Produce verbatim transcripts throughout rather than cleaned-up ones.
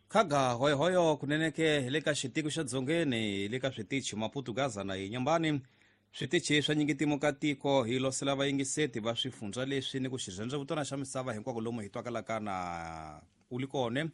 Khaga hoyohoyo kunene ke hi le ka xitiko xa dzongeni hi le ka switichi Maputo Gaza na Inhambane switichi swa nyingitimo ka tiko hi losela vayingiseti va swifundza leswi ni ku xirhendzevutana xa misava hinkwako lomu hi twakalaka na u li kone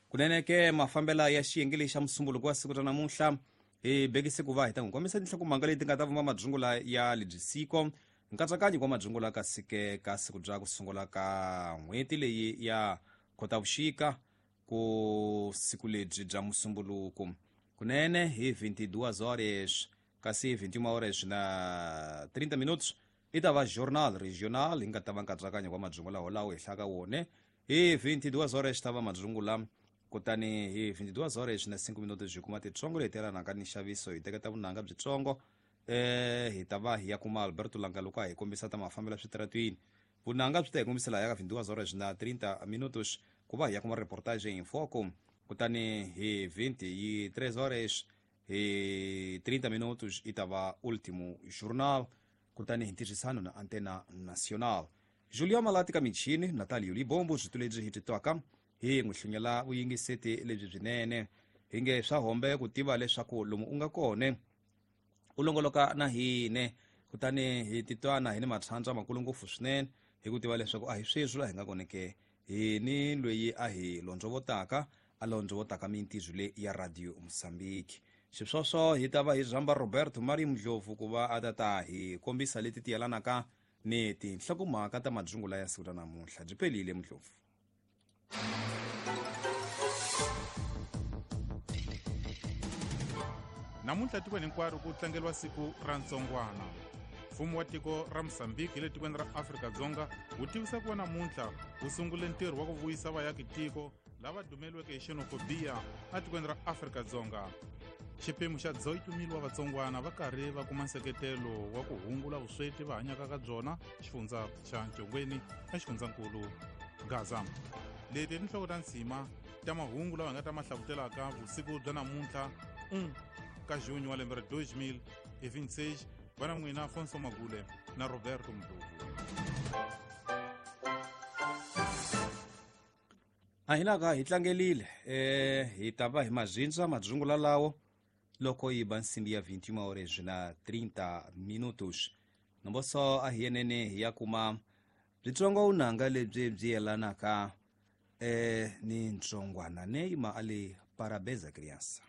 kunene ke mafambela ya xiyenge lexi xa musumbuluko wa siku ra namuntlha hi bekise ku va hi ta n'wi kombisa tinhlokomhaka leti nga ta vumba madzungula ya lebyi siko nkatsakanyo wa madzungula ka sike ka siku bya ku sungula ka n'hweti leyi ya Khotavuxika ku siku lebyi bya musumbuluko kunene hi vinte e duas horas kasi vinte e uma horas na trinta minutos i ta va journal regional hi nga ta va nkatsakanyo wa madzungula wolawo hi hlaka wone hi vinte e duas horas ta va madzungula kutani hi vinte e duas horas na cinco minutos hi kuma titsongo leti yelanaka ni nxaviso hi teketa vunanga byitsongo eh hi ta va hi ya kuma Alberto Langa loko a hi kombisa ta mafambelo switaratwini vunanga byi ta hi kombisa laha ya ka vinte e duas horas na trinta minutos ku va hi ya kuma reportage em foco kutani hi vinte e três horas hi trinta minutos i ta va último journal kutani hi ntirhisano na Antena Nacional Julio Malati ka michini Natalio Libombo switu lebyi hi titwaka hi n'wi hlunyela vuyingiseti lebyi byinene hi nge swa hombe ku tiva leswaku lomu u nga kone u longoloka na hine kutani hi titwana hi ni matshandza makulu ngopfu swinene hi ku tiva leswaku a hi sweswi laha hi nga kone ke hi ni loyi a hi londzovotaka a londzovotaka mintirho leyi ya Radio Mozambique xisweswo hi ta va hi rhamba Roberto Mario Mdlovu ku va a ta ta hi kombisa leti ti yelanaka ni tinhlokomhaka ta madzungula ya siku ra namuntlha byi pelile Mdlovu. Namuntlha tikweni hinkwaro ku tlangeriwa siku ra ntsongwana. Mfumo wa tiko ra Mozambique hi le tikweni ra Afrika-Dzonga wu tivisa ku va namuntlha wu sungule ntirho wa ku vuyisa vayaki-tiko lava dumeliweke hi xenofobiya etikweni ra Afrika-Dzonga. Xiphemu xa dezoito mil wa vatsongwana va karhi va kuma nseketelo wa ku hungula vusweti va hanyaka ka byona xifundza xa Ncongweni na xifundzankulu Gaza. Leti i tinhloko ta nsima ta mahungu lawa hi nga ta ma hlavutelaka vusiku bya namuntlha un ka junho wa lembe ra dois mil e vinte e seis. Va na n'wina Afonso Magule na Roberto Mdlovu. A hi naka hi tlangelile eh hi ta va hi mazindza madzungula lawo loko yi ba nsimbi ya vinte e uma horas na trinta minutos nomboso a hi yenene hi ya kuma byitsongo unanga lebyi byi yelanaka eh ni ntsongwana neima ale parabéns a criança.